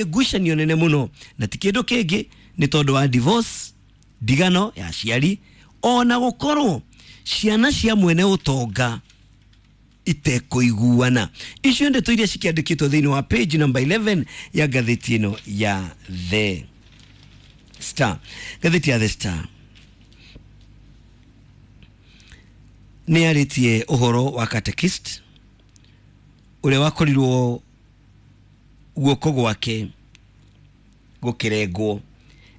Ngucanio nene mũno na ti kĩndũ kĩngĩ nĩ tondũ wa divorce, ndigano ya aciari, ona gũkorwo ciana cia mwene ũtonga itekũiguana. Icio ndeto iria cikĩandĩkĩtwo thĩinĩ wa page number 11 ya ngathĩti ĩno ya The Star. Ngathĩti ya The Star nĩ yarĩtie ũhoro wa catechist ũrĩa wakorirwo guoko gwake gũkĩrengwo,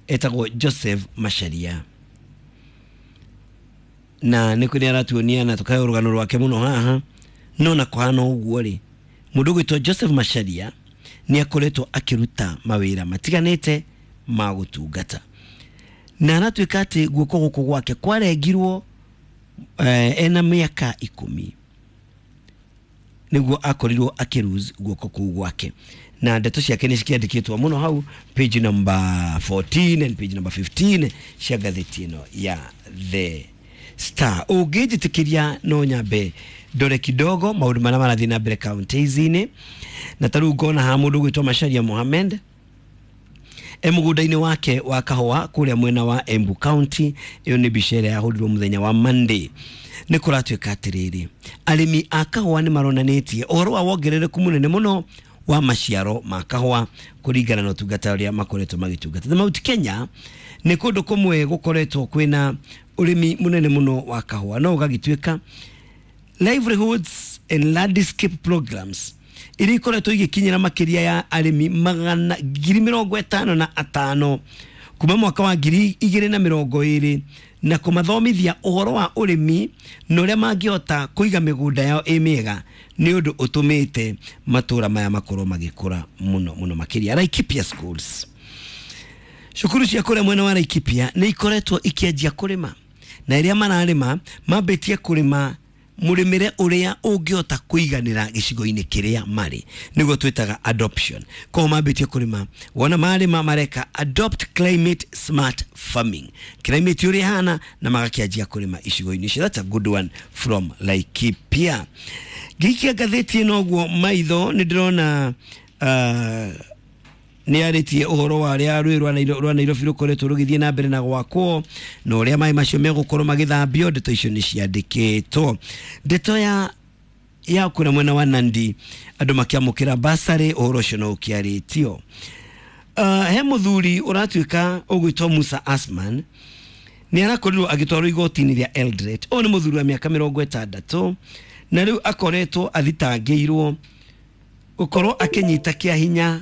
etagwo Joseph Macharia, na nĩ nĩ aratuonia na tũkahe rũgano rwake mũno haha. No na kũhana ũguo rĩ, mũndũ ũgwĩtwo Joseph Macharia nĩ akoretwo akĩruta mawĩra matiganĩte ma gũtungata, na aratuĩka atĩ guoko gũkũ gwake kwarengirwo ena mĩaka 10 nĩguo akorirwo akĩlose guoko kũu gwake, na ndeto ciake nĩ cikĩandĩkĩtwo mũno hau page number 14 and page number 15 cia ngathĩti ĩno ya The Star. Ũngĩnjĩtĩkĩria, no nyambe ndore kidogo maũndũ marĩa marathiĩ na mbere counties-inĩ, na ta rĩu ngona haha mũndũ ũgwĩtwo Macharia Mohamed e mũgũnda-inĩ wake wa kahũa kũrĩa mwena wa Embu County. Ĩyo nĩ mbica ĩrĩa yahũrirwo mũthenya wa Monday. Nĩ kũratuĩka atĩrĩrĩ, arĩmi a kahũa nĩ maronanĩtie ũhoro wa wongerereku mũnene mũno wa maciaro ma kahũa kũringana na ũtungata ũrĩa makoretwo magĩtungata. The Mount Kenya nĩ kũndũ kũmwe gũkoretwo kwĩna ũrĩmi mũnene mũno wa kahũa, no ũgagĩtuĩka livelihoods and landscape programs iria ikoretwo igĩkinyĩra makĩria ya arĩmi 155,000 kuma mwaka wa 2020, na kũmathomithia ũhoro wa ũrĩmi na ũrĩa mangĩhota kũiga mĩgũnda yao ĩ mĩega, nĩ ũndũ ũtũmĩte matũra maya makorwo magĩkũra mũno mũno makĩria. Laikipia schools, cukuru cia kũrĩa mwena wa Laikipia nĩ ikoretwo ikĩanjia kũrĩma, na ĩrĩa mararĩma mambĩtie kũrĩma mũrĩmĩre ũrĩa ũngĩhota kũiganĩra gĩcigo-inĩ kĩrĩa marĩ, nĩguo twĩtaga adoption. Koguo mambĩtie kũrĩma, wona marĩma mareka adopt climate smart farming, climate ũrĩa ĩhana, na magakĩanjia kũrĩma icigo-inĩ icio. That's a good one from Laikipia. Ngĩikia ngathĩti ĩno ũguo maitho, nĩ ndĩrona nĩ arĩtie ũhoro wa ũrĩa rũĩ rwa Nairobi rũkoretwo rũgĩthiĩ na mbere na gwakwo na ũrĩa maĩ macio megũkorwo magĩthambio. Ndeto icio nĩ ciandĩkĩtwo. Ndeto ya kũrĩa mwena wa Nandi, andũ makĩamũkĩra basarĩ, ũhoro ũcio no ũkĩarĩtio. He mũthuri ũratuĩka ũgwĩtwo Musa Asman nĩ arakorirwo agĩtwarwo igoti-inĩ rĩa Eldoret. Ũyũ nĩ mũthuri wa mĩaka 60, na rĩu akoretwo athitangĩirwo gũkorwo akĩnyita kĩa hinya